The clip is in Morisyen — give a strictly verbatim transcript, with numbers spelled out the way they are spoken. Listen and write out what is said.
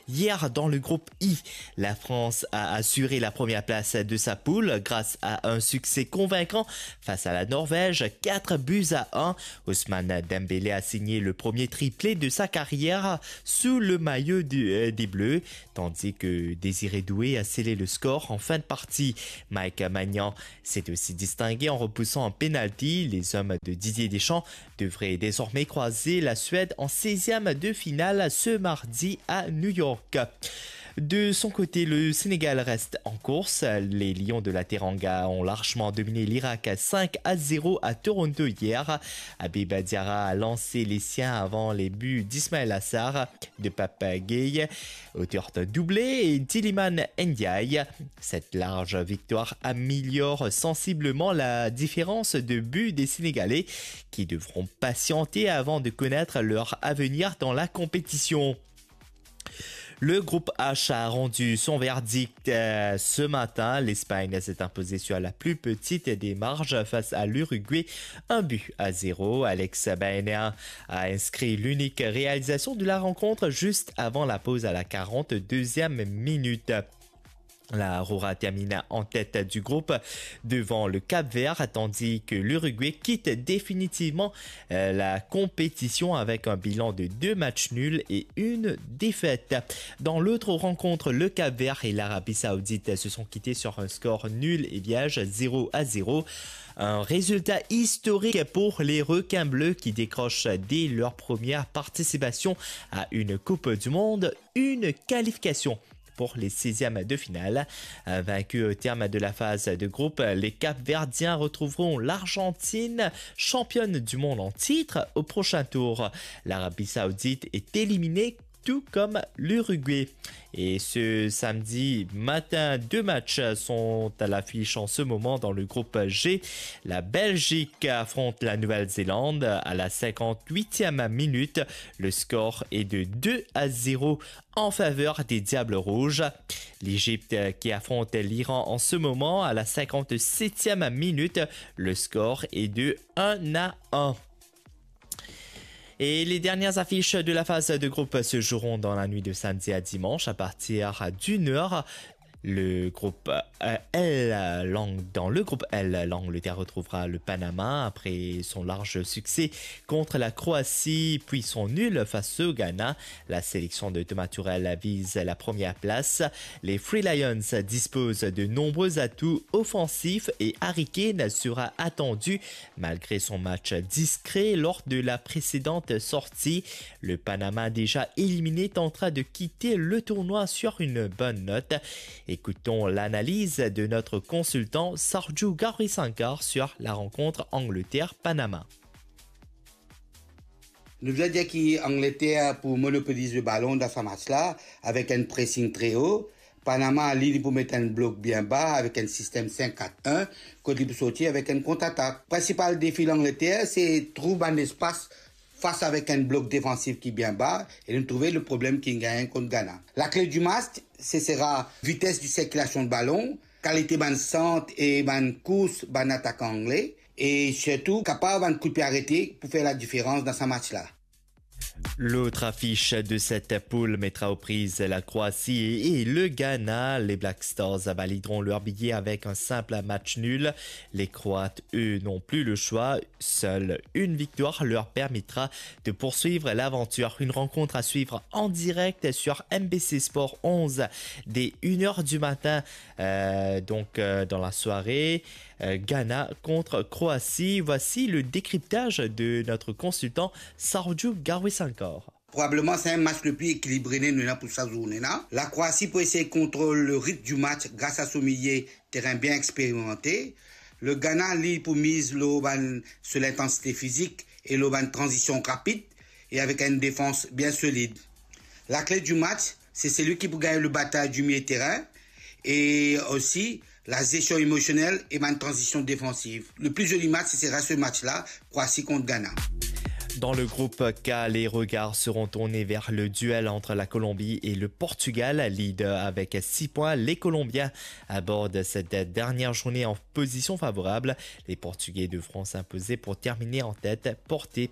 Hier, dans le groupe I, la France a assuré la première place de sa poule grâce à un succès convaincant face à la Norvège, quatre buts à un. Ousmane Dembélé a signé le premier triplé de sa carrière sous le maillot du- euh, des Bleus, tandis que Désiré Doué a scellé le score en fin de partie. Mike Maignan s'est aussi distingué en repoussant un penalty. Les hommes de Didier Deschamps devrait désormais croiser la Suède en seizième de finale ce mardi à New York. De son côté, le Sénégal reste en course. Les Lions de la Teranga ont largement dominé l'Irak cinq à zéro à Toronto hier. Habib Diarra a lancé les siens avant les buts d'Ismaël Assar, de Pape Gueye, auteur d'un doublé, et d'Iliman Ndiaye. Cette large victoire améliore sensiblement la différence de buts des Sénégalais, qui devront patienter avant de connaître leur avenir dans la compétition. Le groupe H a rendu son verdict euh, ce matin. L'Espagne s'est imposée sur la plus petite des marges face à l'Uruguay, un but à zéro. Alex Baena a inscrit l'unique réalisation de la rencontre juste avant la pause à la quarante-deuxième minute. La Rora termine en tête du groupe devant le Cap-Vert, tandis que l'Uruguay quitte définitivement euh, la compétition avec un bilan de deux matchs nuls et une défaite. Dans l'autre rencontre, le Cap-Vert et l'Arabie Saoudite se sont quittés sur un score nul et vierge, zéro à zéro. Un résultat historique pour les requins bleus, qui décrochent dès leur première participation à une Coupe du Monde une qualification pour les seizièmes de finale. Euh, Vaincus au terme de la phase de groupe, les Capverdiens retrouveront l'Argentine, championne du monde en titre, au prochain tour. L'Arabie Saoudite est éliminée, tout comme l'Uruguay. Et ce samedi matin, deux matchs sont à l'affiche en ce moment dans le groupe G. La Belgique affronte la Nouvelle-Zélande à la cinquante-huitième minute. Le score est de deux à zéro en faveur des Diables Rouges. L'Égypte, euh, qui affronte l'Iran en ce moment à la cinquante-septième minute. Le score est de un à un. Et les dernières affiches de la phase de groupe se joueront dans la nuit de samedi à dimanche à partir d'une heure. Le groupe euh, L, l'Ang-, dans le groupe L, l'Angleterre retrouvera le Panama après son large succès contre la Croatie, puis son nul face au Ghana. La sélection de Thomas Tuchel vise la première place. Les Three Lions disposent de nombreux atouts offensifs et Harry Kane sera attendu malgré son match discret lors de la précédente sortie. Le Panama, déjà éliminé, tentera de quitter le tournoi sur une bonne note. Écoutons l'analyse de notre consultant Sarju Gaurisankar sur la rencontre Angleterre-Panama. Nou bizin dir ki Angleter pou monopoliz le balon dan sa match la avek enn pressing tre o. Panama, li, li pou met enn blok bien ba avek enn sistem senk kat enn, kot li pou sorti avek enn kontratak. Prinsipal defi Langleter, se trouv bann lespas fas avek enn blok defansif ki bien ba, e nou trouve le problem ki gagn kont Ghana. Lakle di match, se sera vites di sirkilasion de balon, kalite bann sant e bann kours bann atakan angle, e sirtou kapav bann kout pie arete pou fer ladiferans dan sa match la. L'autre affiche de cette poule mettra aux prises la Croatie et, et le Ghana. Les Black Stars valideront leur billet avec un simple match nul. Les Croates, eux, n'ont plus le choix. Seule une victoire leur permettra de poursuivre l'aventure. Une rencontre à suivre en direct sur M B C Sport onze dès une heure du matin, euh, donc euh, dans la soirée. Euh, Ghana contre Croatie. Voici le décryptage de notre consultant Sarju Gaurisankar. Probableman, se enn match le pli ekilibre nou ena pou sa zourne la. La Croatie pou esey kontrol le ritm di match gras a so milie terin bien eksperimante. Le Ghana, li, pou miz lor bann, so lintansite fizik e lor bann tranzision rapid e avek enn defans bien solid. Lakle di match, se seli ki pou gagn le batay di milie terin e osi la gestion émotionnelle et bann transition défensive. Le plus joli match, ce sera ce match-là, Croatie contre Ghana. Dans le groupe K, les regards seront tournés vers le duel entre la Colombie et le Portugal, leader avec six points. Les Colombiens abordent cette dernière journée en position favorable. Les Portugais devront s'imposer pour terminer en tête, portés